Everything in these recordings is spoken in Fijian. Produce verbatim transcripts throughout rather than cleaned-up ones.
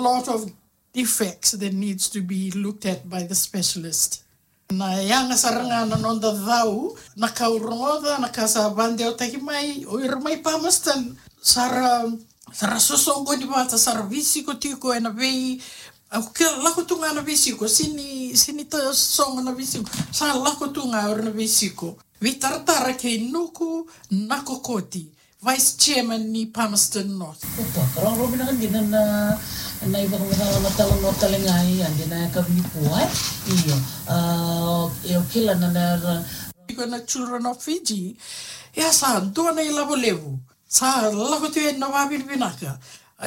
lot of defects that needs to be looked at by the specialist. Na yaga sara ga na noda cau, na ka au rogoca, na ka sa vadewataki mai, o ira mai Palmerston, sa ra, sa ra sosoqoni vata, sa ra veisiko tiko ena vei, au kila lako tu ga na veisiko, sini, sini ta sogo na veisiko, sa lako tu ga o ira na veisiko. Veitaratara kei Nuku Nakokoti, Vice Chairman ni Palmerston North. Opa, rau, rau vinaka dina na, na ivakavakavakatala no tale ga i adi na yakavi nikua, e? Io. A, e, o kila na, na, na. Iko na Children of Fiji. Ia sa dua na ilavo levu. Sa lako tiko ena vavinavinaka.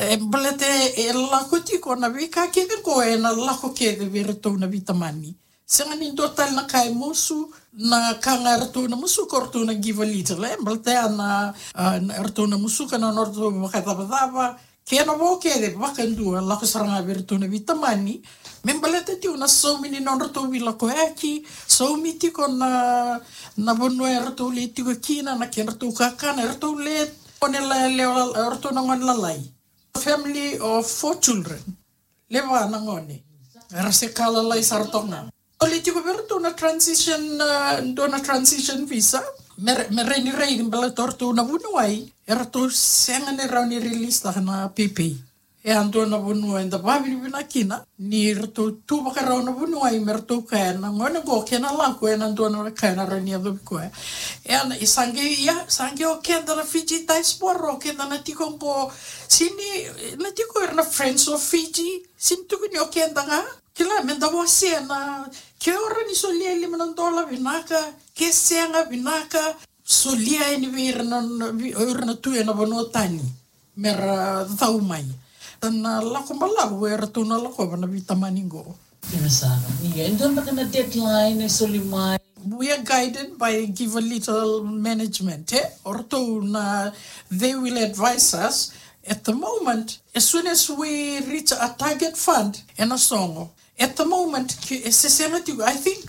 E, baleta e lako tiko na veika kece qo ena lako kece vei iratou na veitamani. Sega ni dua tale na ka e musu, na ka ga eratou na musuka o ratou na Givealittle, e, baleta ya na, a, na, eratou na musuka na nodratou vakacavacava, kena vo kece vakadua, lako sara ga vei iratou na veitamani, me baleta tiko na saumi ni nodratou veilakoyaki, saumi tiko na, na vanua eratou lai tiko kina, na kedratou kakana, eratou le, gone la, le, eratou na gone lalai. Family of four children. Le va na gone. Era se ka lalai sara toka ga. Soli tiko vei iratou na transition, a, dua na transition visa. Me, me rawa ni raici baleta o ratou na vuniwai, eratou sega ni rawa ni release taka na pepe. E a dua na vanua eda vavinavinaka kina ni ratou tu vakarau na vuniwai me ratou kaya na gone qo kena lako ena dua na ka ena rawa ni yacovi koya. E a na, e sa qai, ia, sa qai o keda na Fiji diaspora, o keda na tiko qo, sini, na tiko era na Friends of Fiji, sini tukuni o keda ga. Kila, meda wasea na, ke o rawa ni solia e lima na dola vinaka, ke sega vinaka, solia yani vei ira na, na, vei ira na tu ena vanua tani, mera cau mai. Na lako balavu eratou na lakova na veitamani qo. Dina sara. Ia, e dua beka na deadline e soli mai? We are guided by Givealittle management, e? O ratou na, they will advise us. At the moment, as soon as we reach a target fund, ena sogo. At the moment, ke, e se sega tiko, I think,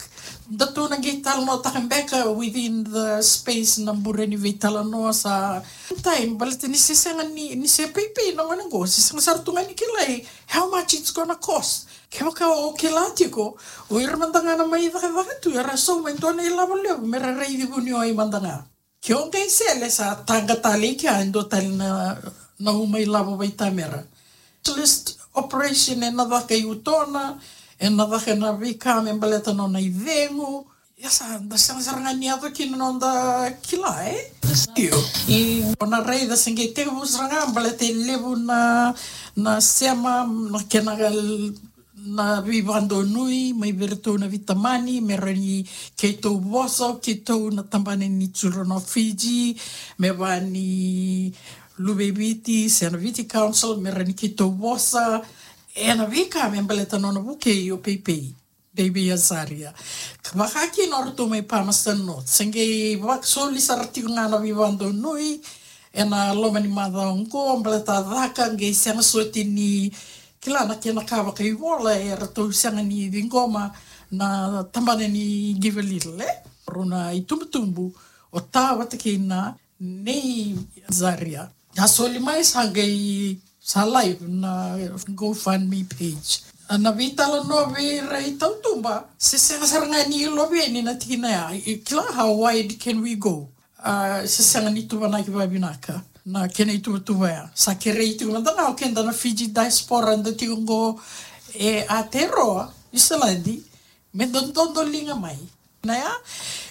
datou na qai talanoataka beka within the space na bure ni veitalanoa sa time, baleta ni se sega ni, ni se peipei na gone qo, se sega sara tu ga ni kilai how much it's gonna cost. Kevaka o kila tiko, o ira mada ga na mai cakacaka tu, era sauma e dua na ilavo levu, mera raici vuniwai mada ga. Ke o qai sele sa taqa tale i kea e dua tale na, na uma ilavo vaitamera. Specialist operation ena caka i utona, ena caka na veika me baleta nona icegu. Ia sa, da sega sara ga ni yaco kina noda kila, e? Io. I, o na raica se qai tekivu sara ga baleta e levu na, na sema, na kena na veivakadonui mai vei iratou na veitamani, me rawa ni keitou vosa o keitou na tabana ni Children of Fiji, me vaka ni Luve i Viti se na Viti Council, me rawa ni keitou vosa ena veika me baleta nona vukei o Peipei, Baby Azaria. Ka vaka kina o ratou mai Palmerston North, se qai vakasoli sara tiko ga na veivakadonui ena loma ni macawa oqo, baleta caka qai sega soti ni kila na kena ka vakaivola, e ratou sega ni ciqoma na tabana ni Givealittle, e? Rau na itubutubu o Ta vata kei na Nei Azaria. A soli mai sa qai sa live na GoFundMe page. Na veitalanoa vei ira i tautuba, se sega sara ga ni iloveni na tikina ya. I kila, how wide can we go? A, se sega ni tuvanaki vavinaka na kena ituvatuva ya. Sa kerei tiko mada ga o keda na Fiji diaspora da tiko qo e Aotearoa, Niusiladi, me dododo liga mai. Na ya,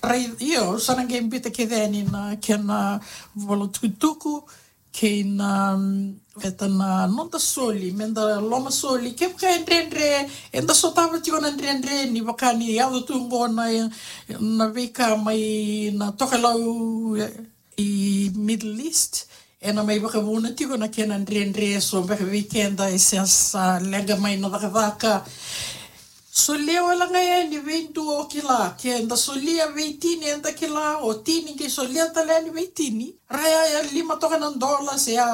rai, io, sa na qai bita kece yani na kena vola tukutuku kei na, mm, veta na noda soli, meda loma soli, kevaka e dredre, eda sotava tiko na dredre ni vaka ni yaco tu qo na, na veika mai na tokalau, e, i Middle East, ena mai vakavuna tiko na kena dredre, so beka vei keda e se sa leqa mai na cakacaka. Solia wale ga yani vei dua o kila, ke da solia vei tini eda kila, o tini qai solia tale yani vei tini. Raya ya lima toka na dola se ya,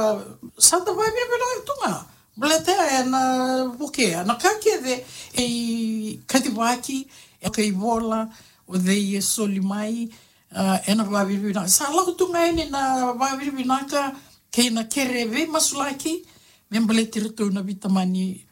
sa da vavinavinaka tu ga. Baleta ya ena vukea na ka kece e kacivaki, e kaivola, o cei e soli mai, a, ena vavinavinaka. Sa lako tu ga yani na vavinavinaka kei na kere veimasulaki me baleti iratou na veitamani